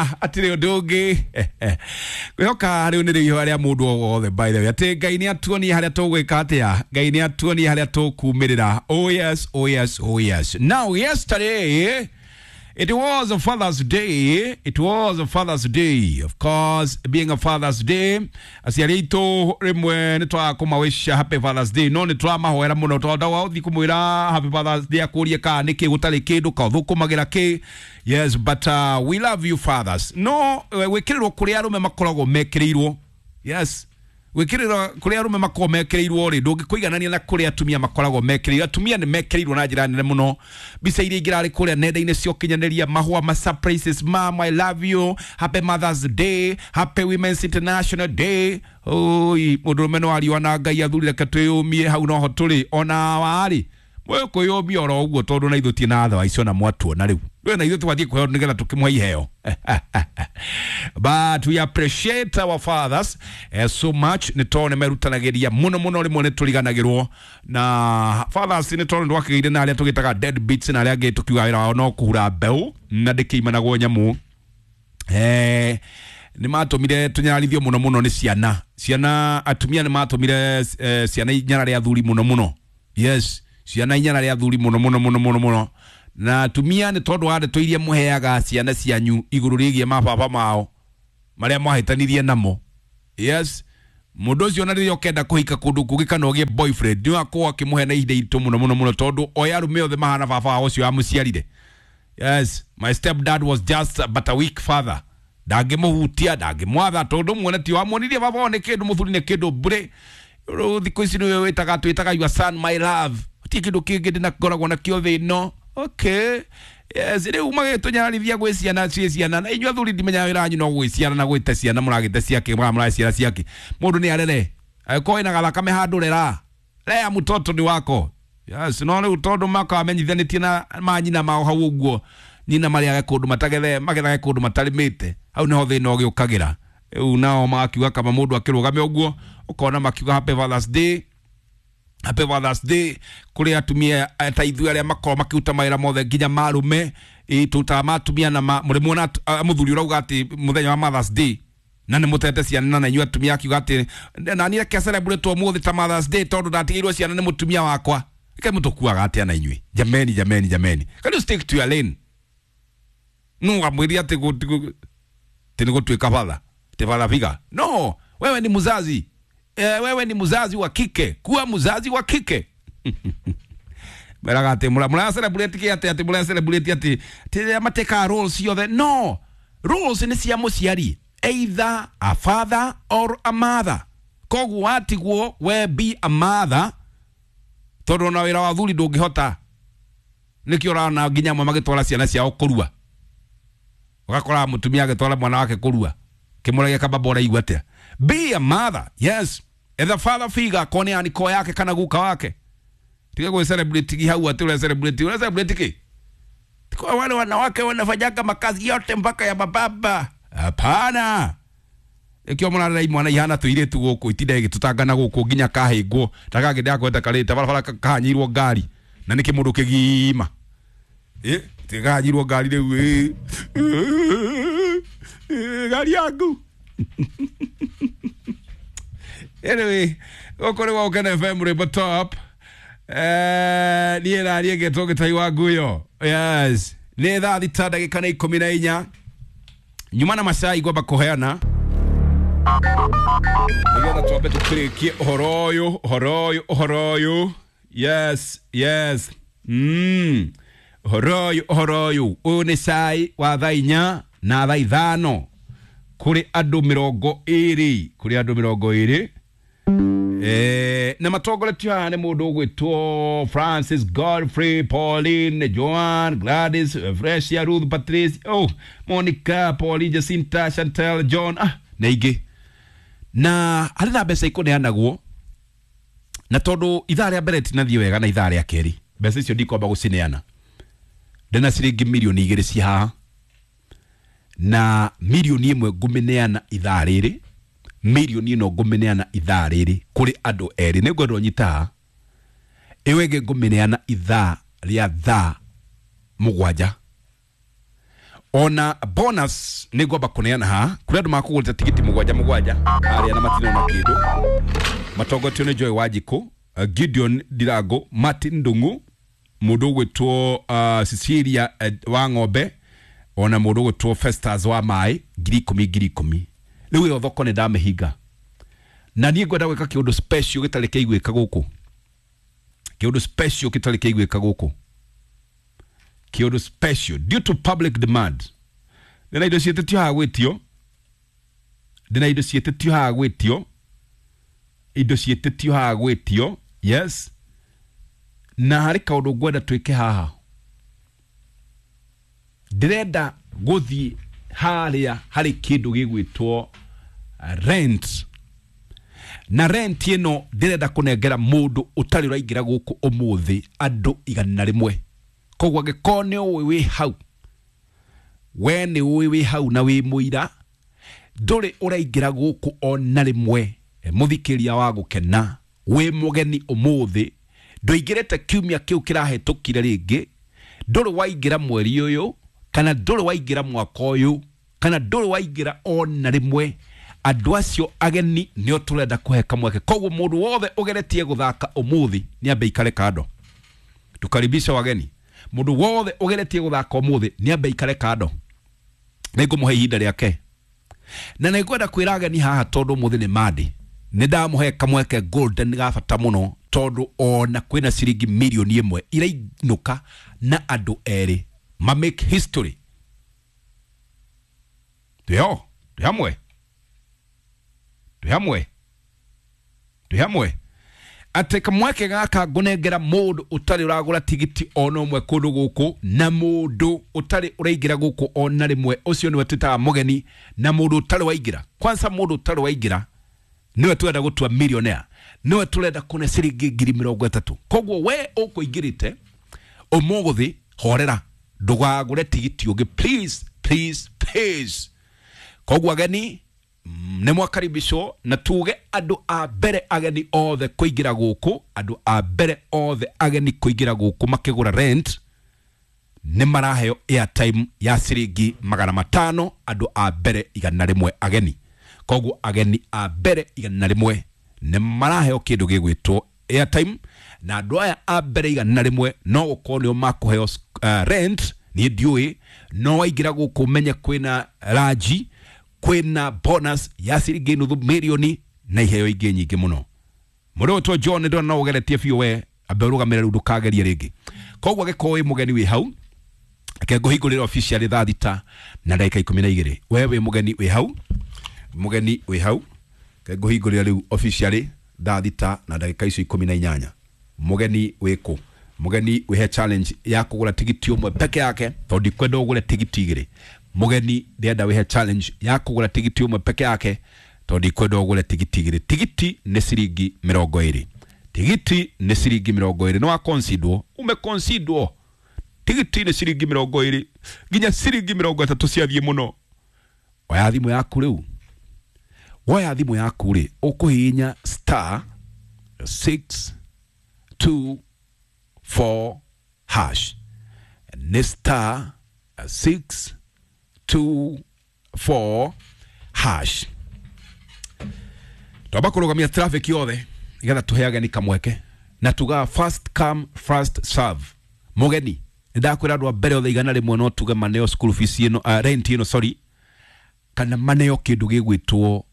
Na atirĩ ũndũ ũngĩ kwĩhoka rĩu nĩ rĩiho rĩa mũndũ o wothe. By the way, atĩ Ngai nĩ atuonie harĩa tũgwĩka atĩa, Ngai nĩ atuonie harĩa tũkumĩrĩra. Oh yes, oh yes, oh yes. Now yesterday it was a Father's Day. It was a Father's Day. Of course, being a Father's Day, aciari aitũ rĩmwe nĩ twaga kũmawisha Happy Father's Day, no nĩ tũramahoera mũno tondũ wa ũthiĩ kũmwĩra Happy Father's Day akũrie kana nĩkĩ gũtarĩ kĩndũ ka ũthũkũmagĩra kĩ. Yes, but we love you fathers. No gwĩkĩrĩrwo kũrĩa arũme makoragwo mekĩrĩirwo. Yes, gwĩkĩrĩrwo kũrĩa arũme makoragwo mekĩrĩirwo rĩ, ndũngĩkũiganania na kũrĩa atumia makoragwo mekĩrĩirwo. Atumia nĩ mekĩrĩirwo na njĩra nene mũno. Mbica iria ingĩrarĩ kũrĩa nenda-inĩ cia ũkinyanĩria, mahũa ma surprises, "Mom, I love you, happy Mother's Day, happy Women's International Day." Oi, mũndũrũme no ariũa na Ngai. Athuri, reke twĩyũmie hau noho tũrĩ ona warĩ mwĩkwĩyũmia oro ũguo, tondũ na ithuĩ ti na tha icio na mwatuona rĩu ndũĩ na ithuĩ twathiĩ kũheo nĩgetha tũkĩmũhe iheo. But we appreciate our fathers so much, nĩ tondũ nĩ merutanagĩria mũno mũno. Rĩmwe nĩ tũriganagĩrwo na fathers, nĩ tondũ nĩ twakĩgĩire na arĩa tũgĩtaga dead beats na arĩa angĩ tũkiuga wĩra wao no kũhura mbeũ na ndĩkĩimanagwo nyamũ. Nĩ matũmire tũnyararithio mũno mũno nĩ ciana. Ciana, atumia nĩ matũmire ciana inyarare athuri mũno mũno. Yes, ciana inyarare athuri mũno mũno mũno mũno mũno. Na atumia, nĩ tondũ wa ndeto iria mũheaga ciana cianyu igũrũ rĩgiĩ mababa mao marĩa mwahĩtanirie namo. Yes, mũndũ ũcio na rĩrĩa ũkenda kũhika kũndũ kũngĩ kana ũgĩe boyfriend, nĩ wakorwo akĩmũhe na ihinda iritũ mũno mũno mũno, tondũ oya arũme othe mahana baba wao ũcio wamũciarire. Yes, my stepdad was just but a weak father, ndangĩmũhutia, ndangĩmwatha, tondũ muone ti wamuonirie baba wao nĩ kĩndũ, mũthuri nĩ kĩndũ mbũrĩ. Rĩu thikũ ici nĩwe wĩtaga, twĩtaga your son my love, gũtirĩ kĩndũ kĩngĩ ndĩnakoragwo nakĩo thĩ ĩno. Okay, yes, rĩu magĩtũnyararithia gwĩ ciana ciĩ ciana. Na inyuĩ athuri, ndimenyaga wĩra wanyu no gwĩciara na gwĩte ciana, mũragĩte ciake, mũraciara ciake. Mũndũ nĩ arere, angĩkorwo wĩna gathakame handũ, rera rea, mtoto ni wako. Yes, no rĩu tondũ makamenyithanĩtie na manyina mao hau ũguo, nyina marĩage kũndũ matagethe, magethage kũndũ matarĩmĩte, hau nĩho thĩna ũgĩũkagĩra. Rĩu nao magakiuga kama mũndũ akĩrũgame ũguo, ũkona makiuga Happy Father's Day, Happy Father's Day kũrĩ atumia ta ithuĩ arĩa makoragwo makĩruta mawĩra mothe nginya marume. Tũrutaga ma atumia na mũrĩmuona mũthuri ũrauga atĩ mũthenya wa Mother's Day na nĩ mũtete ciana, na inyuĩ atumia akiuga atĩ na niĩ reke celebrate ũmũthĩ ta Mother's Day tondũ ndatigĩirwo ciana nĩ mũtumia wakwa. Reke mũtũkuaga atĩa na inyuĩ? Jameni, jameni, jameni, can you stick to your lane? No amwĩria atĩ atĩ nĩ gũtuĩka father, atĩ father figure. No wewe ni mzazi, wewe ni mzazi wa kike, kuwa mzazi wa kike. Meraga atĩ mũra celebrate kĩ? Atĩ mũra celebrate atĩ rĩrĩa matekaga roles ciothe. No roles nĩ cia mũciari, either a father or a mother. Koguo watigwo, we be a mother, tondũ ona wĩra wa thuri ndũngĩhota. Nĩkĩo ũrona nginya amwe magĩtwara ciana ciao kũrua, ũgakora mũtumia agĩtwara mwana wake kũrua, kĩmũragia kababa, ũraigua atĩa? Be a mother. Yes, etha father figure, akorwo nĩ aniko yake kana guka wake. Tiga gwĩ celebrate gi hau atĩ ũra celebrate, ũra celebrate kĩ? Kwa wale wanawake wanafanyaga makazi yote mpaka ya mababa, hapana. Ikio mũrarera imwana ihana tũirĩtu gũkũ, itinda igĩtũtangana gũkũ nginya kahĩngwo ta kangĩ ndakwenda karĩte barabara kahanyĩirwo ngari na nĩkĩ mũndũ kĩgima tigahanyĩirwo ngari rĩu ngari yaku. Anyway, gũkũ nĩ gwa FM, rwĩmbo top. Niĩ na niĩ ngetwo Gĩtai wa Nguyo. Yes, nĩ thaa 6 ndagĩka na 14. Nyuma na macai ngwamba kũheana nĩgetha twambe tũkĩrĩkie ũhoro ũyũ, ũhoro ũyũ, ũhoro ũyũ. Yes, yes, ũhoro ũyũ, ũhoro ũyũ. Ũyũ nĩ cai wa thaa 4 na thaa 5 kũrĩ andũ 20, kũrĩ andũ 20. Na matongoretio haha nĩ mũndũ ũgwĩtwo Francis, Godfrey, Pauline, Joan, Gladys, Fresia, Ruth, Patrice, oh, Monica, Pauline, Jacinta, Chantel, John, na ingĩ. Na harĩ na mbeca ikũneanagwo, na tondũ ithaa rĩa mbere tinathiĩ wega na ithaa rĩa kerĩ, mbeca icio ndikwamba gũcineana. Ndĩna ciringi 2 mirioni ci haha, na 1 mirioni ngũmĩneana ithaa rĩrĩ, mirioni ĩno ngũmĩneana ithaa rĩrĩ kũrĩ andũ erĩ. Nĩ ngwenda ũnyita haha. Ĩyo ĩngĩ ngũmĩneana ithaa rĩa thaa 7. Ona bonus nĩ ngwamba kũneana haha kũrĩ andũ makũgũrĩte tigiti mũgwanja mũgwanja harĩa na matinona kĩndũ matongotio nĩ Joy Wanjikũ, Gideon Ndirango, Martin Ndung'u, mũndũ ũgwĩtwo Cecilia wa ng'ombe, ona mũndũ ũgwĩtwo Festus wa maĩ, 10,000 10,000. Rĩu ĩyo thoko nĩ ndamĩhinga na niĩ ngwenda gwĩka kĩũndũ special gĩtarĩ kĩaiguĩka gũkũ, kĩũndũ special gĩtarĩ kĩaiguĩka gũkũ, kĩũndũ special due to public demand. Ndĩna indo ciĩtĩtio haha gwĩtio, ndĩna indo ciĩtĩtio haha gwĩtio, indo ciĩtĩtio haha gwĩtio, yes. Na harĩ kaũndũ ngwenda twĩke haha, ndĩrenda gũthiĩ harĩa harĩ kĩndũ gĩgwĩtwo rent, na rent ĩno ndĩrenda kũnengera mũndũ ũtarĩ ũraingĩra gũkũ ũmũthĩ andũ 100. Koguo angĩkorwo nĩ ũĩ wĩ hau, we nĩ ũĩ wĩ hau na wĩ mũira, ndũrĩ ũraingĩra gũkũ ona rĩmwe, mũthikĩria wa gũkena, wĩ mũgeni ũmũthĩ, ndũingĩrĩte kiumia kĩu kĩrahĩtũkire rĩngĩ, ndũrĩ waingĩra mweri ũyũ, kana ndũrĩ waingĩra mwaka ũyũ, kana ndũrĩ waingĩra ona rĩmwe, andũ acio ageni nĩo tũrenda kũhe kamweke. Koguo mũndũ wothe ũgeretie gũthaka ũmũthĩ nĩ ambe ikare kando, tukaribisha wageni. Mũndũ wothe ũgeretie gũthaka ũmũthĩ nĩ ambe ikare kando, nĩ ngũmũhe ihinda rĩake. Na nĩ ngwenda kwĩra ageni haha tondũ ũmũthĩ nĩ Monday, nĩ ndamũhe kamweke golden ga bata mũno, tondũ ona kwĩna ciringi 1 million irainũka na andũ erĩ ma make history. Twĩho, twĩ hamwe, twĩ hamwe, twĩ hamwe, atĩ kamweke gaka ngũnengera mũndũ ũtarĩ ũragũra tigiti ona ũmwe kũndũ gũkũ, na mũndũ ũtarĩ ũraingĩra gũkũ ona rĩmwe, ũcio nĩwe twĩtaga mũgeni, na mũndũ ũtarĩ waingĩra kwanza, mũndũ ũtarĩ waingĩra nĩwe tũrenda gũtua millionaire, nĩwe tũrenda kũne ciringi 30,000. Koguo we ũkũingĩrĩte ũmũthĩ, horera, ndũgagũre tigiti ũngĩ, please, please, please. Koguo ageni nĩ mwakaribishwo, na tuge andũ a mbere ageni othe kũingĩra gũkũ, andũ a mbere othe ageni kũingĩra gũkũ makĩgũra rent nĩ maraheo airtime ya ciringi 500, andũ a mbere 100 ageni. Koguo ageni a mbere 100 nĩ maraheo kĩndũ gĩgwĩtwo airtime, na andũ aya a mbere 100 no gũkorwo nĩo makũheo rent. Niĩ ndiũĩ, no waingĩra gũkũ menye kwĩna ranji, kwĩna bonus ya ciringi 500 million na iheo ingĩ nyingĩ mũno. Mũndũ ũgwĩtwo John, ndona no ũgeretie biũ, we ambe ũrũgamĩre rĩu, ndũkagerie rĩngĩ. Koguo angĩkorwo wĩ mũgeni wĩ hau, reke ngũhingũrĩre officially thaa 6:12. We wĩ mũgeni wĩ hau, mũgeni wĩ hau, reke ngũhingũrĩre rĩu officially thaa 6:18. Mũgeni wĩ kũ? Mũgeni wĩhe challenge ya kũgũra tigiti ũmwe peke yake, tondũ ndikwenda ũgũre tigiti igĩrĩ. Mũgeni ndĩrenda wĩhe challenge ya kũgũra tigiti ũmwe peke yake, tondũ ndikwenda ũgũre tigiti igĩrĩ. Tigiti nĩ ciringi 20, tigiti nĩ ciringi 20. Nĩ wakonsidwo, umekonsidwo. Tigiti nĩ ciringi 20 nginya ciringi 30 ciathiĩ mũno. Oya thimũ yaku rĩu, woya thimũ yaku rĩ, ũkũhihinya star 6 2 4 hash, nĩ star 6 2 4 hash. Twamba kũrũgamia traffic yothe nĩgetha tũhe ageni kamweke, na tugaga first come, first serve. Mũgeni nĩ ndakwĩra andũ a mbere othe 100 no tuge maneo school fees ĩno, rent ĩno, sorry, kana maneo kĩndũ gĩgwĩtwo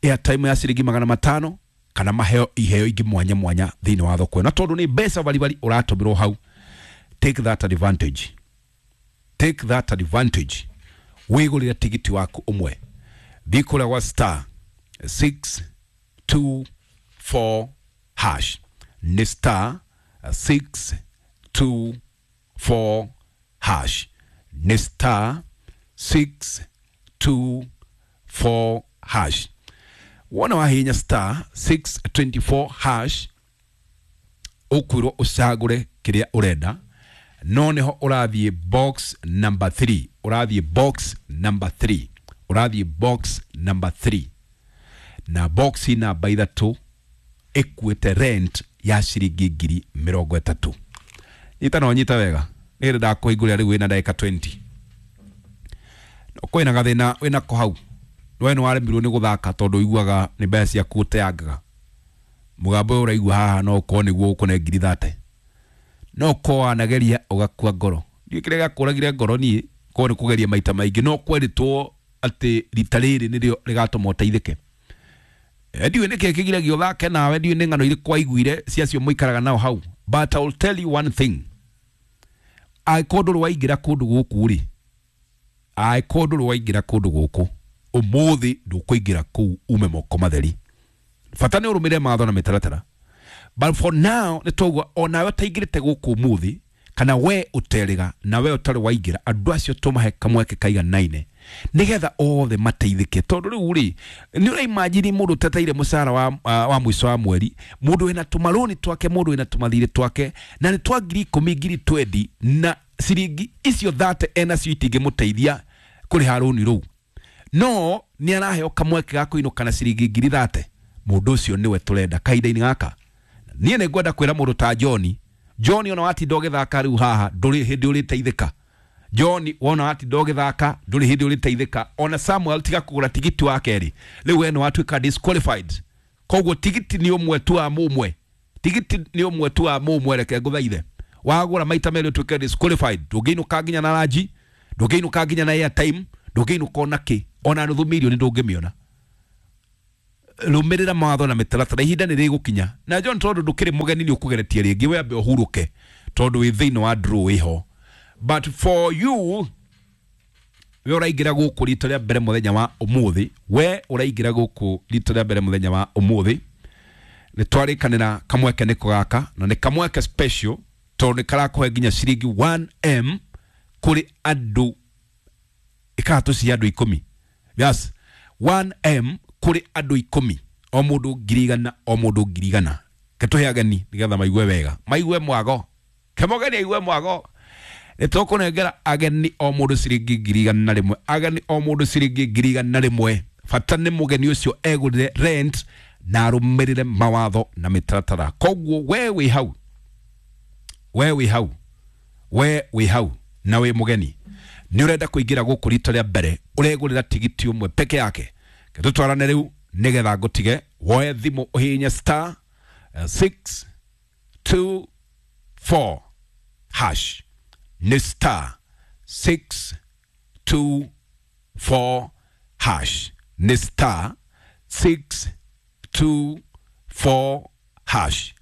airtime ya ciringi 500, kana maheo iheo ingĩ mwanya mwanya thĩinĩ wa thoko ĩno. Tondũ nĩ mbeca baribari ũratũmĩrwo hau, take that advantage, take that advantage, wĩgũrĩre tigiti waku ũmwe. Thiĩ kũrĩa gwa star 6 2 4 hash, nĩ star 6 2 4 hash, nĩ star 6 2 4 hash. Wona wahihinya star 624 hash, ũkwĩrwo ũcagũre kĩrĩa ũrenda, no nĩho ũrathiĩ box number 3, ũrathiĩ box number 3, ũrathiĩ box number 3, na box namba 3 ĩkuĩte rent ya ciringi 30,000. Nyita no nyita wega, nĩ ndakũhingũrĩra rĩu wĩna ndagĩka 20. Kwĩna gathĩna wĩnako hau, we nĩ waremirwo nĩ gũthaka tondũ ũiguaga nĩ mbeca ciaku ũteangaga. Mũgambo ũyũ ũraigua haha no ũkorwo nĩguo ũkũne 30,000, no ũkorwo wanageria ũgakua ngoro. Ndiũĩ kĩrĩa gĩakũragire ngoro niĩ, korwo nĩ kũgeria maita maingĩ, no kwerĩtwo atĩ rita rĩrĩ nĩrĩo rĩgatũma ũteithĩke. Ndiũĩ nĩkĩ kĩgiragia ũthake nawe, ndiũĩ nĩ ng'ano irĩkũ waiguire cia acio mũikaraga nao hau, but I will tell you one thing, angĩkorwo ndũrĩ waingĩra kũndũ gũkũ rĩ, angĩkorwo ndũrĩ waingĩra kũndũ gũkũ ũmũthĩ, ndũkũingĩra kũu ume moko matheri. Bata nĩ ũrũmĩrĩre mawatho na mĩtaratara, but for now nĩ twaigua onawe ũtaingĩrĩte gũkũ ũmũthĩ, kana we ũterĩga na we ũtarĩ waingĩra, andũ acio tũmahe kamweke kaiganaine nĩgetha othe mateithĩke. Tondũ rĩu rĩ, nĩ ũraimajini mũndũ ũteteire mũcara wa mũico wa mweri, mũndũ wĩna tũmarũni twake, mũndũ wĩna tũmathirĩ twake na nĩ twa 10,000, 20,000, na ciringi icio 30 enacio itingĩmũteithia kũrĩha rũni rũu, no nĩ araheo kamweke ga kũinũka na ciringi 30,000. Mũndũ ũcio nĩwe tũrenda kahinda-inĩ gaka. Niĩ nĩ ngwenda kwĩra mũndũ ta John, John, ona watinda ũgĩthaka rĩu haha, ndũrĩ hĩndĩ ũrĩteithĩka. John, wona watinda ũgĩthaka, ndũrĩ hĩndĩ ũrĩteithĩka. Ona Samuel, tiga kũgũra tigiti wa kerĩ rĩu, we nĩ watuĩka disqualified. Koguo tigiti nĩ ũmwe tu wa mũmwe, tigiti nĩ ũmwe tu wa mũmwe. Reke ngũthaithe, wagũra maita merĩ ũtuĩke disqualified. Ndũngĩinũka nginya na ranji, ndũngĩinũka nginya na airtime, ndũngĩinũka ona kĩ, ona nuthu mirioni ndũngĩmĩona. Rũmĩrĩra mawatho na mĩtaratara, ihinda nĩ rĩgũkinya. Na John, tondũ ndũkĩrĩ mũgeni, nĩ ũkũgeretie rĩngĩ, we ambe ũhurũke tondũ wĩ thĩinĩ wa draw wĩho. But for you, we ũraingĩra gũkũ rita rĩa mbere mũthenya wa ũmũthĩ, we ũraingĩra gũkũ rita rĩa mbere mũthenya wa ũmũthĩ, nĩ twarĩkanĩra kamweke nĩko gaka, na nĩ kamweke special tondũ nĩ karakũhe nginya ciringi 1M kũrĩ andũ ĩkaga cia andũ 10. Yes, 1M kũrĩ andũ 10, o mũndũ 100,000, o mũndũ 100,000. Ketũhe ageni nĩgetha maigue wega, maigue mwago kemogeni aigue mwago. Nĩ tũkũnengera ageni o mũndũ ciringi 100,000, ageni o mũndũ ciringi 100,000. Bata nĩ mũgeni ũcio egũrĩre rent na arũmĩrĩre mawatho na mĩtaratara. Koguo we wĩ hau, we wĩ hau, we wĩ hau na wĩ mũgeni, nĩ ũrenda kũingĩra gũkũ rita rĩa mbere, ũregũrĩra tigiti ũmwe peke yake. Tũtwarane rĩu nĩgetha ngũtige woe thimũ ũhihinye star 624 hash. Nĩ star 624 hash, nĩ star 624 hash.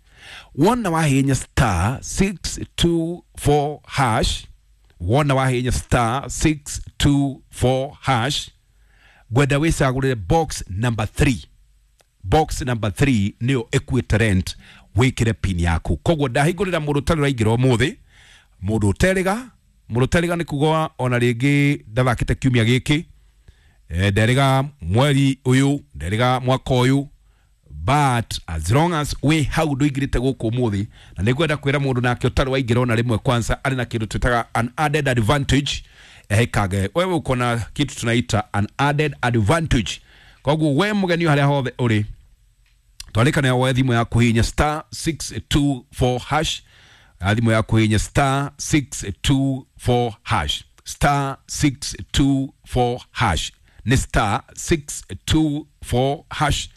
Wona wahihinya star 624 hash, wona wahihinya star 624 hash, ngwenda wĩcagũrĩre box number 3. Box number 3 nĩyo ĩkuĩte rent, wĩkĩre pin yaku. Koguo ndahingũrĩra mũndũ ũtarĩ ũraingĩra ũmũthĩ, mũndũ ũterĩga. Mũndũ ũterĩga nĩ kuga ona rĩngĩ ndathakĩte kiumia gĩkĩ, nderĩga mweri ũyũ, nderĩga mwaka ũyũ, but as long as wĩ hau ndũingĩrĩte gũkũ ũmũthĩ. Na nĩ ngwenda kwĩra mũndũ nake ũtarĩ waingĩra ona rĩmwe, kwanza arĩ na kĩndũ twĩtaga an added advantage. Ehekage wewe uko na kitu tunaita an added advantage. Koguo we mũgeni, harĩa hothe ũrĩ, twarĩkana woe thimũ yaku, hihinya star 624 hash. Thimũ yaku, hihinya star 624 hash, star 624 hash, nĩ star 624 hash,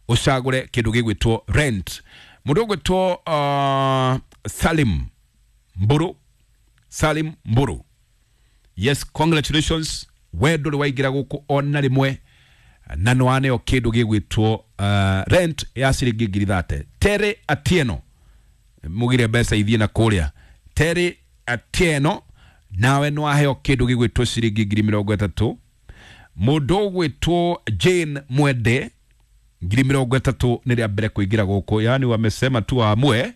ũcagũre kĩndũ gĩgwĩtwo rent. Mũndũ ũgwĩtwo Salim Mburu, Salim Mburu, yes, congratulations. We ndũrĩ waingĩra gũkũ ona rĩmwe na nĩ waneo kĩndũ gĩgwĩtwo rent ya ciringi 30,000. Terry Atieno, mugire mbeca ithiĩ na kũrĩa. Terry Atieno, nawe nĩ waheo kĩndũ gĩgwĩtwo ciringi 30,000. Mũndũ ũgwĩtwo Jane Mwende, 30,000, nĩ rĩa mbere kũingĩra gũkũ. Yani wamesema tu waamue,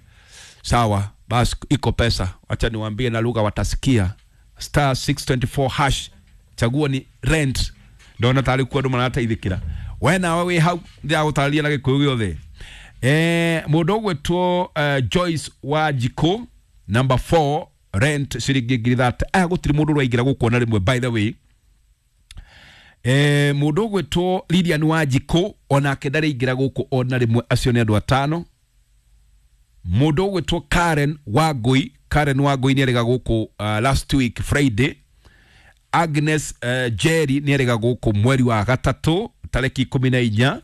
sawa basi, iko pesa. Acha niwaambie na lugha watasikia, star 624 hash, chaguo ni rent. Ndona tarĩ kuo andũ marateithĩkĩra. We nawe wĩ hau, ndĩragũtarĩria na gĩkũyũ gĩothe. Mũndũ ũgwĩtwo Joyce Wanjikũ, number 4, rent ciringi 30,000. Aya gũtirĩ mũndũ ũraingĩra gũkũ ona rĩmwe, by the way. Mũndũ ũgwĩtwo Lilian Wanjikũ onake ndarĩingĩra gũkũ ona rĩmwe. Acio nĩ andũ atano. Mũndũ ũgwĩtwo Karen Wangui, Karen Wangui nĩ arĩga gũkũ last week Friday. Agnes Jerry nĩ erĩga gũkũ mweri wa gatatũ tarĩki 14.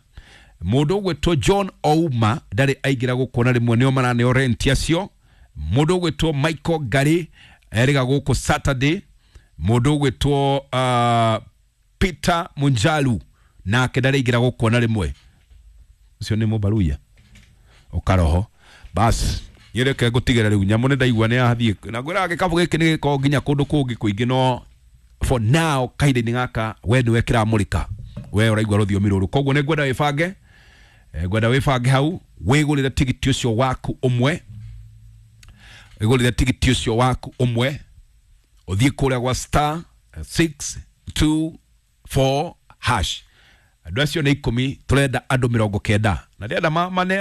Mũndũ ũgwĩtwo John Ouma ndarĩ aingĩra gũkũ na rĩmwe, nĩo maraneo rent acio. Mũndũ ũgwĩtwo Michael Ngari erĩga gũkũ Saturday. Mũndũ ũgwĩtwo Peter Munjalu nake ndarĩ aingĩra gũkũ na rĩmwe, ũcio nĩ mũbaruya ũkaroho. Bas, nyereke ngũtigĩra rĩu nyamũ nĩ ndaigua nĩ yathiĩ na ngwĩraga gĩkabũ gĩkĩ nĩ gĩkoragwo nginya kũndũ kũngĩ kũingĩ, no for now kahinda-inĩ gaka we nĩwe kĩramũrĩka, we ũraigua rũthiomi rũrũ. Koguo nĩ ngwenda wĩbange, ngwenda wĩbange hau wĩgũrĩre tigiti ũcio waku ũmwe, wĩgũrĩre tigiti ũcio waku ũmwe, ũthiĩ kũrĩa gwa star 624 hash. Andũ acio nĩ 10, tũrenda andũ 90 na ndĩrenda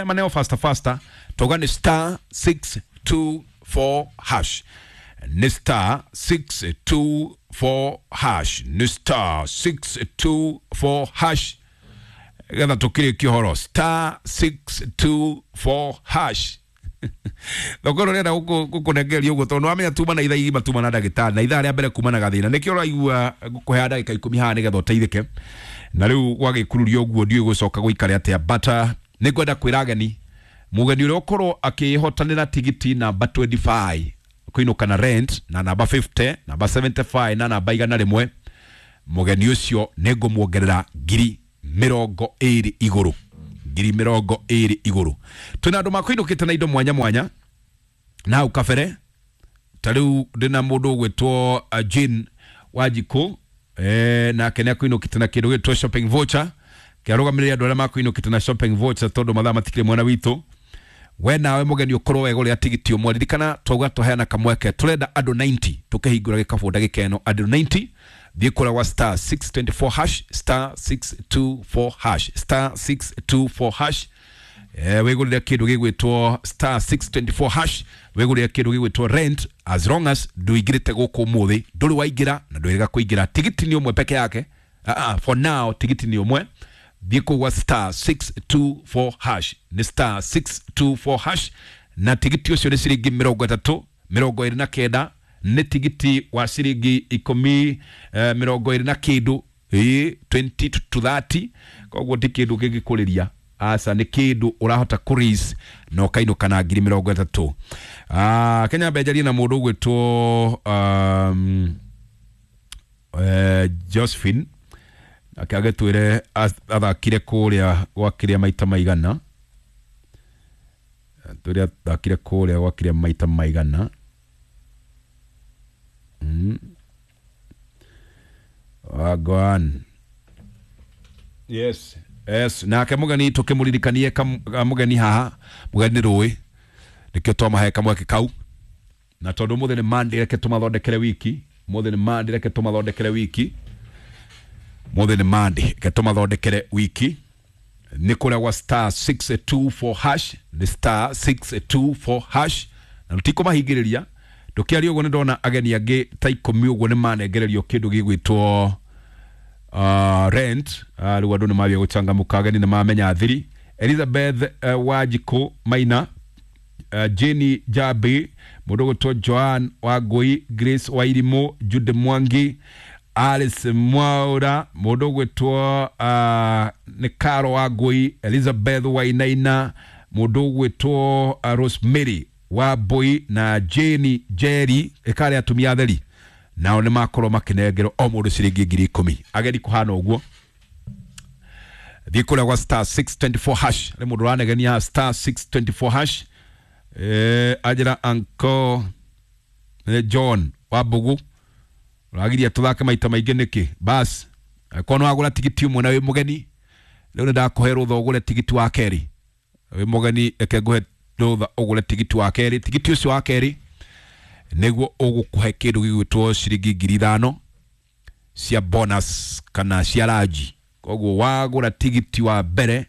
maneo faster faster. Tauga nĩ star 624 hash, nĩ star 624 hash, nĩ star 624 hash, getha tũkĩrĩkie ũhoro. Star 624 hash. Thoko ĩno rĩenda gũkũnengeria ũguo tondũ nĩwamenya tuma na ithaa igima tuma na ndagĩtarĩ na ithaa rĩa mbere kuma na gathĩna, nĩkĩo ũraigua ngũkũheaga ndagĩka 10 haha nĩgetha ũteithĩke. Na rĩu gwagĩkururia ũguo ndiũĩ gũcoka gũikare atĩa, but nĩ ngwenda kwĩra ageni, mũgeni ũrĩa ũkorwo akĩhotanĩra tigiti namba 25 kũinũka na rent na namba 50, namba 75 na namba 100, mũgeni ũcio nĩ ngũmuongerera 20,000 igũrũ, 20,000 igũrũ. Twĩna andũ makũinũkĩte na indo mwanya mwanya na hau kabere. Ta rĩu ndĩna mũndũ ũgwĩtwo Jane Wanjikũ, nake nĩ akũinũkĩte na kĩndũ gĩtwo shopping voucher. Kĩarũgamĩrĩre andũ arĩa makũinũkĩte na shopping voucher tondũ mathaa matikĩrĩ mwena witũ. We nawe mũgeni ũkorwo wegũrĩra tigiti ũmwe, ririkana twauga tũheana kamweke, tũrenda andũ 90 tũkĩhingũra gĩkabũ ndagĩka ĩno, andũ 90. Thiĩ kũrĩa gwa star 624 hash, star 624 hash, star 624 hash, wĩgũrĩre kĩndũ gĩgwĩtwo star 624 hash, wĩgũrĩre kĩndũ gĩgwĩtwo rent. As long as ndũingĩrĩte gũkũ ũmũthĩ, ndũrĩ waingĩra na ndwĩrĩga kũingĩra, tigiti nĩ ũmwe peke yake. For now tigiti nĩ ũmwe. Thiĩ kũu gwa star 624 hash, nĩ star 624 hash, na tigiti ũcio nĩ ciringi 30, 29 nĩ tigiti wa ciringi 10, 20 na kĩndũ, ĩĩ 20 to 30. Koguo ti kĩndũ kĩngĩkũrĩria, aca, nĩ kĩndũ ũrahota kũris na ũkainũka na 30,000. Kenya mbenjarie na mũndũ ũgwĩtwo Josephine, nake agĩtwĩre athakire kũrĩa gwakĩrĩa maita maigana, twĩre athakire kũrĩa gwakĩrĩa maita maigana. Wagwan. Yes. Yes, nake mũgeni tũkĩmũririkanie mũgeni haha, mũgeni rũĩ nĩkĩo twamahe kamweke kau, na tondũ ũmũthĩ nĩ Monday, reke tũmathondekere wiki. Ũmũthĩ nĩ Monday, reke tũmathondekere wiki. Ũmũthĩ nĩ Monday, reke tũmathondekere wiki. Nĩ kũrĩa gwa star 624 hash, nĩ star 624 hash, na tũtikũmahingĩrĩria. Ndũkĩaria ũguo nĩ ndona ageni angĩ ta 10 ũguo nĩ manengererio kĩndũ gĩgwĩtwo rent. Rĩu andũ nĩ mambia gũcangamũka, ageni nĩ mamenya thiri. Elizabeth Wanjikũ Maina, Jenny Jabi, mũndũ ũgwĩtwo Joan Wangũi, Grace Wairimũ, Jude Mwangi, Alice Mwaura, mũndũ ũgwĩtwo nĩ Caro Wangũi, Elizabeth Wainaina, mũndũ ũgwĩtwo Rosemary Wambui na Jane Jerry, ĩkarĩ atumia atheri, nao nĩ makorwo makĩnengerwo o mũndũ ciringi 10,000. Ageni kũhana ũguo, thiĩ kũrĩa gwa star 624 hash. Nĩ mũndũ ũranegenia star 624 hash, anjĩra anko John Wambugu, ũragiria tũthake maita maingĩ nĩkĩ? Bas, angĩkorwo nĩ wagũra tigiti ũmwe na wĩ mũgeni, rĩu nĩ ndakũhe rũtha ũgũre tigiti wa kerĩ. Wĩ mũgeni, reke ngũhe rũtha ũgũre tigiti wa kerĩ. Tigiti ũcio wa kerĩ nĩguo ũgũkũhe kĩndũ gĩgwĩtwo ciringi 5,000 cia bonus kana cia ranji. Koguo wagũra tigiti wa mbere,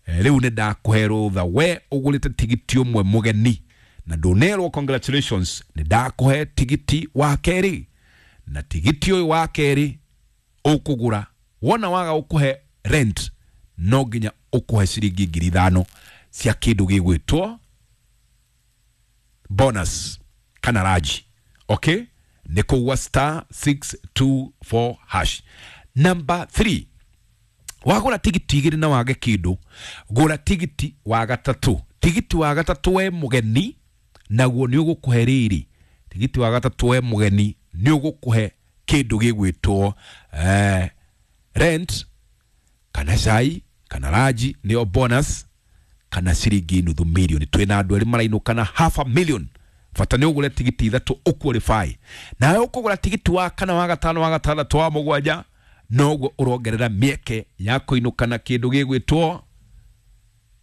rĩu nĩ ndakũhe rũtha we ũgũrĩte tigiti ũmwe mũgeni na ndũnerwo congratulations, nĩ ndakũhe tigiti wa kerĩ, na tigiti ũyũ wa kerĩ ũkũgũra wona waga ũkũhe rent, no nginya ũkũhe ciringi 5,000 cia kĩndũ gĩgwĩtwo bonus kana raji. Okay, Nĩ kũgwa star 624 hash. Number 3, wagũra tigiti igĩrĩ na wage kĩndũ, gũra tigiti wa gatatũ. Tigiti wa gatatũ we mũgeni naguo nĩ ũgũkũhe rĩrĩ, tigiti wa gatatũ we mũgeni nĩ ũgũkũhe kĩndũ gĩgwĩtwo rent kana cai kana raji, nĩyo bonus, kana ciringi nuthu milioni. Twĩna andũ erĩ marainũka na half a million. Bata nĩ ũgũre tigiti ithatũ ũqualify. Nawe ũkũgũra tigiti wa kana, wa gatano, wa gatandatũ, wa mũgwanja, noguo ũrongerera mĩeke ya kũinũka na kĩndũ gĩgwĩtwo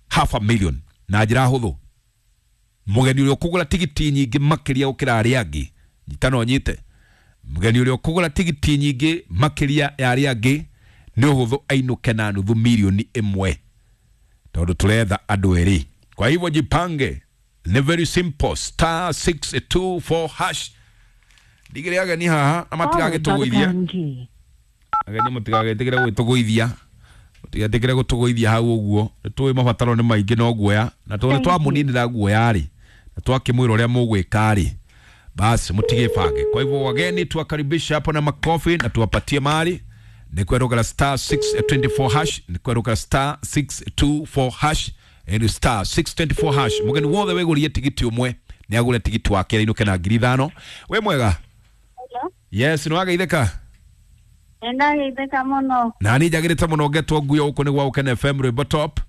half a million na njĩra hũthũ. Mũgeni ũrĩa ũkũgũra tigiti nyingĩ makĩria gũkĩra arĩa angĩ, nyita no nyite, mũgeni ũrĩa ũkũgũra tigiti nyingĩ makĩria ya arĩa angĩ nĩ ũhũthũ ainũke na nuthu milioni ĩmwe, tondũ tũretha andũ erĩ. Kwa hivyo jipange, ni very simple, star 624 hash. Ndigĩre ageni haha na matigagĩtũgũithie. Ageni mũtigagĩtĩkĩre gwĩtũgũithia, mũtigetĩkĩre gũtũgũithia hau ũguo. Nĩ tũĩ mabataro nĩ maingĩ no guoya, na tondũ nĩ twamũninĩra guoya rĩ, na twakĩmwĩra ũrĩa mũgwĩka rĩ, basi mũtigĩbange. Kwa hivyo wageni tuwakaribishe hapo na makofi na tuwapatie mali. Ni kwerũkara star 624 hash, ni kwerũkara star 624 hash, ni star 624 hash. Mũgeni wothe wĩgũrie tigiti ũmwe nĩ agũre tigiti wake ainũke na 5,000. Wĩ mwega? Hello. Yes, nĩ wageithĩka? Nĩndageithĩka mũno. Na niĩ njagĩrĩte mũno ngetwo nguyo gũkũ nĩ gwa Gũkena FM rwĩmbo top.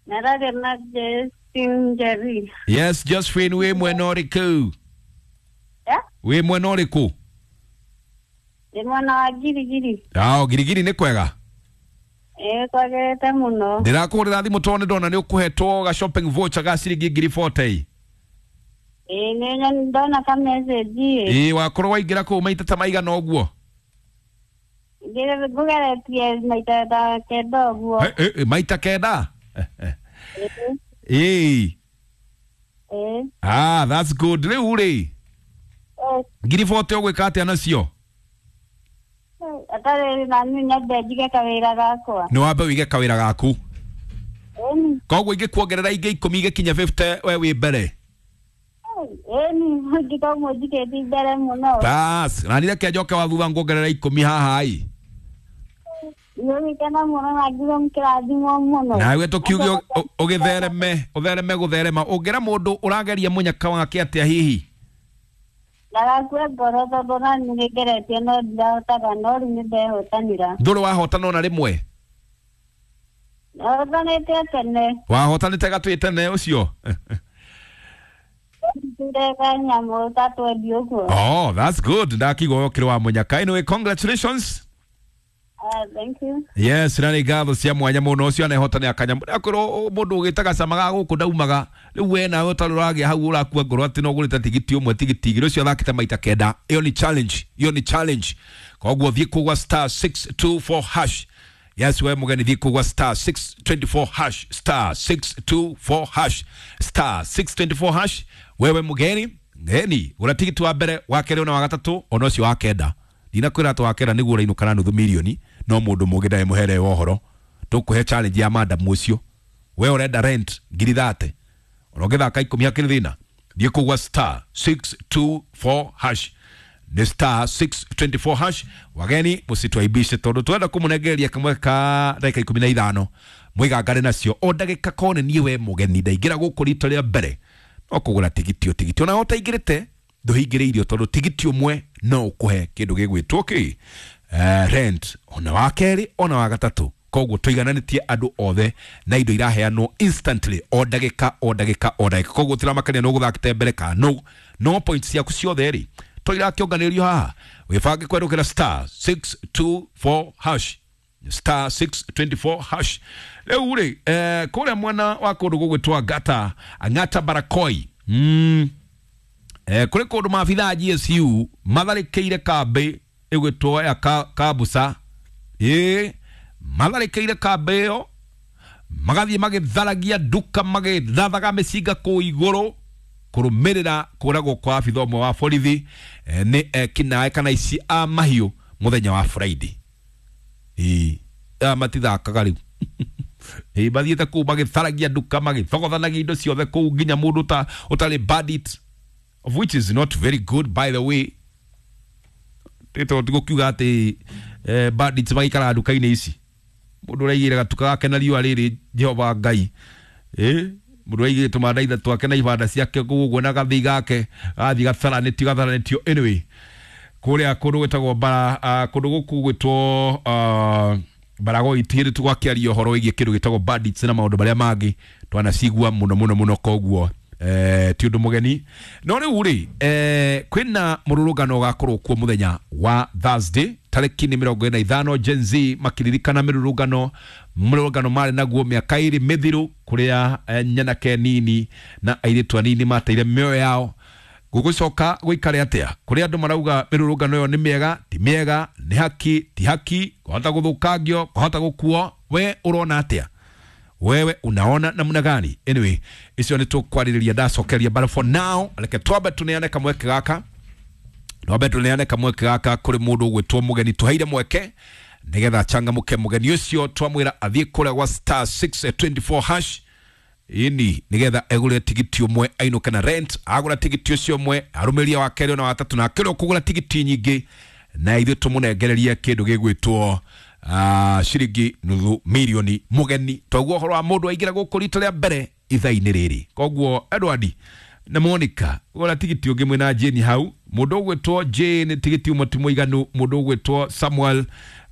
Nararia na Justin Njeri. Yes, Josephine, wĩ mwena ũrĩkũ? Yeah? Wĩ mwena ũrĩkũ? Ndĩ mwena wa Girigiri. Ao, Girigiri nĩ kwega? Ĩĩ, kwagĩrĩte mũno. Ndĩrakũhũrĩra thimũ tondũ nĩ ndona nĩ ũkũhetwo ga shopping voucher ga ciringi 40,000. Ĩĩ, nĩ ndona ka message ĩ. Ĩĩ, wakorwo waingĩra kũu maita ta maigana ũguo? Ngũgeretie maita ta kenda ũguo. Maita kenda? Ĩĩ. Ĩĩ. Ah, that's good. Rĩu rĩ, 40,000 ũgwĩka atĩa nacio? Atarĩ na niĩ nyambe njige kawĩra gakwa. Nĩ wambe wĩige kawĩra gaku. Ĩni. Koguo ingĩkuongerera ingĩ 10 igĩkinya 50 we wĩ mbere. Ĩni, ngĩkorwo njikĩtie mbere mũno. Bas, na nĩ reke njoke wa thutha nguongerera 10 haha ĩ. Nĩgĩkena mũno na ngiuga mũkĩrathimwo mũno. Nawe tũkiuge ũgĩthereme, ũthereme gũtherema. Ũngĩra mũndũ ũrageria mũnyaka wake atĩa hihi? Ndagakue ngoro tondũ na niĩ nĩngeretie no ndirahotaga, no rĩu nĩndehotanĩra. Ndũrĩ wahotana ona rĩmwe? Hotanĩte tene. Wahotanĩte gatwĩ tene ũcio? Ndire kanyamũ ta twendi ũguo. Oh, that's good. Ndakigwo ũkĩrĩ wa mũnyaka. Anyway, congratulations. Thank you. Yes, na nĩ ngatho cia mwanya mũno. Ũcio anehotania kanyamũ. Akorwo mũndũ ũgĩtaga cama ga gũkũ ndaumaga, rĩu we nawe ũtarĩ ũragĩa hau ũrakua ngoro atĩ no ũgũrĩte tigiti ũmwe tigiti igĩrĩ, ũcio athakĩte maita kenda. Ĩyo nĩ challenge, ĩyo nĩ challenge. Koguo thiĩ kũgwa star 624 hash. Yes, we mũgeni thiĩ kũgwa star 624 hash, star 624 hash, star 624 hash. Wewe mũgeni, ngeni, gũra tigiti wa mbere, wa kerĩ ona wa gatatũ, ona ũcio wa kenda. Ndinakwĩra atĩ wa kenda nĩguo ũrainũka na nuthu milioni, no mũndũ mũngĩ ndarĩ mũhere wa ũhoro. Tũkũhe challenge ya madam ũcio. We ũrenda rent 30,000. Ona ũngĩthaka 10 hakĩrĩ thĩna. Thiĩ kũgwa star 624 hash. Nĩ star 624 hash. Wageni mũcitwaibishe tondũ twenda kũmũnengereria kamwe ka ndagĩka 15. Mwĩgangare nacio o ndagĩka kone niĩ we mũgeni ndaingĩra gũkũ rita rĩa mbere. No kũgũra tigiti o tigiti. Ona ũtaingĩrĩte ndũhingĩrĩirio tondũ tigiti ũmwe no ũkũhe kĩndũ gĩgwĩtwo kĩ? Rent ona wa kerĩ ona wa gatatũ. Koguo tũigananĩtie andũ othe na indo iraheanwo instantly o ndagĩka o ndagĩka o ndagĩka. Koguo tiramakania no gũthakĩte mbere kana no no points ciaku ciothe rĩ to irakĩonganĩrio haha. Wĩbange kwerũkĩra star 624 hash, star 624 hash. Rĩu rĩ, kũrĩa mwena wa kũndũ gũgwĩtwo Ngata, Ang'ata Barakoi, kũrĩ kũndũ maabithaa a GSU matharĩkĩire kambĩ ĩgwĩtwo ya Kabusa. Ĩĩ, matharĩkĩire kambĩ ĩyo magathiĩ magĩtharagia nduka, magĩthathaga mĩcinga kũu igũrũ kũrũmĩrĩra kũragwo kwa abithaa ũmwe wa borithi nĩ ekinaĩ kana ici a mahiũ mũthenya wa Friday. Ĩĩ, aya matithakaga rĩu. Ĩĩ, mathiĩte kũu magĩtharagia nduka, magĩthogothanagia indo ciothe kũu nginya mũndũ ũtarĩ bandit, of which is not very good by the way. Tondũ tigũkiuga atĩ bandits magĩikaraga nduka-inĩ ici. Mũndũ ũraigĩra gatuka gake na riũa rĩrĩ Jehova Ngai. Mũndũ ũraigĩra tũmandaitha twake na ibanda ciake kũu na gathii gake gathiĩ gatharanĩtio anyway. Kũrĩa kũndũ gwĩtagwo bara kũndũ gũkũ gwĩtwo Baragoi hĩndĩ tũgakĩaria ũhoro wĩgiĩ kĩndũ gĩtagwo bandits na maũndũ marĩa mangĩ twanacigua mũno mũno mũno koguo ti ũndũ mũgeni. No rĩu rĩ kwĩna mũrũrũngano ũgakorwo kuo mũthenya wa Thursday tarĩki nĩ 45 Gen Z makiririkana mĩrũrũngano marĩ naguo mĩaka 2 mĩthiru kũrĩa nyanake nini na airĩtu anini mateire mĩoyo yao. Gũgũcoka gũikare atĩa kũrĩa andũ marauga mĩrũrũngano ĩyo nĩ mĩega ti mĩega nĩ haki ti haki kwahota gũthũkangio kwahota gũkuo we ũrona atĩa wewe unaona namna gani? Anyway, icio nĩ tũkwarĩrĩria ndacokeria, but for now reke twambe tũneane kamweke gaka kũrĩ mũndũ ũgwĩtwo mũgeni tũheire mweke nĩgetha achangamũke. Mũgeni ũcio twamwĩra athiĩ kũrĩa gwa star 624 hash ini nigetha egure tigiti umwe ainuke na rent. Agura tigiti ucio umwe arumiria wa keri na watatu na akĩrwo kugura tigiti nyingĩ na ithuĩ tũmũnengererie kĩndũ gĩgwĩtwo ciringi nuthu milioni mũgeni. Toguo ũhoro wa mũndũ aingĩra gũkũ rita rĩa mbere ithaa-inĩ rĩrĩ. Koguo Edward na Monica gũra tigiti ũngĩ mwĩna Jane hau. Mũndũ ũgwĩtwo Jane tigiti ũmwe ti mũiganu. Mũndũ ũgwĩtwo Samuel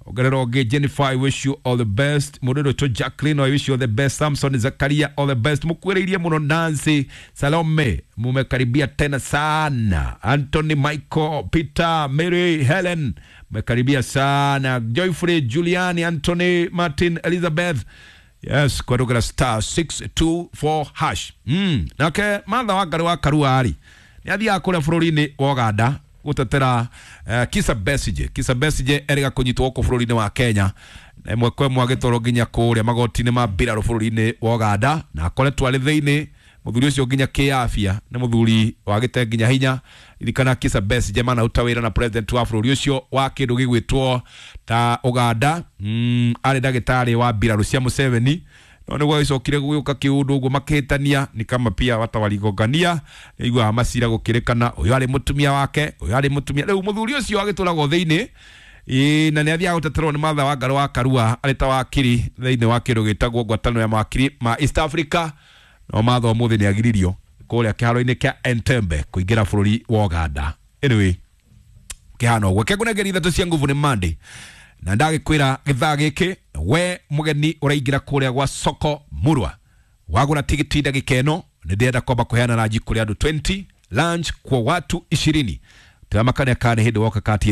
ongerera ũngĩ. Jennifer, I wish you all the best. Mũndũ ũgwĩtwo Jacqueline, I wish you all the best. Samson Zakaria, all the best. Mũkuĩrĩirie mũno. Nancy Salome, mumekaribia tena sana. Anthony Michael, Peter, Mary, Helen, mmekaribia sana. Joyfrey, Juliani, Anthony, Martin, Elizabeth. Yes, kwarugera star 624 hash. Nake Martha Wangari wa Karua ari nĩ athiaga kũrĩa bũrũri-inĩ wa Uganda gũtetera Kizza Besigye. Kizza Besigye erĩga kũnyitwo gũkũ bũrũri-inĩ wa Kenya na ĩmwe kwa ĩmwe agĩtwarwo nginya kũrĩa magoti-inĩ ma mbirarũ bũrũri-inĩ wa Uganda na akoretwo arĩ thĩinĩ mũthuri ũcio nginya kĩafya nĩ mũthuri wagĩte nginya hinya. Ririkana Kizza Besigye manaruta wĩra na president wa bũrũri ũcio wa kĩndũ gĩgwĩtwo ta Uganda. Arĩ ndagĩtarĩ wa mbirarũ cia Museveni no nĩguo agĩcokire gũgĩũka kĩũndũ ũguo makĩhĩtania ni kama pia wata waligongania iguaga macira gũkĩrĩkana ũyũ arĩ mũtumia wake ũyũ arĩ mũtumia. Rĩu mũthuri ũcio agĩtũragwo thĩinĩ na nĩ athiaga gũteterwo nĩ Martha Wangari wa Karua arĩ ta wakiri thĩinĩ wa kĩndũ gĩtagwo ngwatanĩro ya mawakiri ma East Africa. No Martha ũmũthĩ nĩ agiririo kũrĩa kĩharo-inĩ kĩa Entebbe kũingĩra bũrũri wa Uganda. Anyway, kĩhana ũguo kĩngũnengeri ithatũ cia nguvu nĩ Monday na ndagĩkwĩra gĩthaa gĩkĩ we mũgeni ũraingĩra kũrĩa gwa soko murwa wagũra tigiti ndagĩka ĩno nĩ ndĩrenda kwamba kũheana ranji kũrĩ andũ 20 lunch kwa watu 20 tĩramakania kana nĩ hĩndĩ woka kati.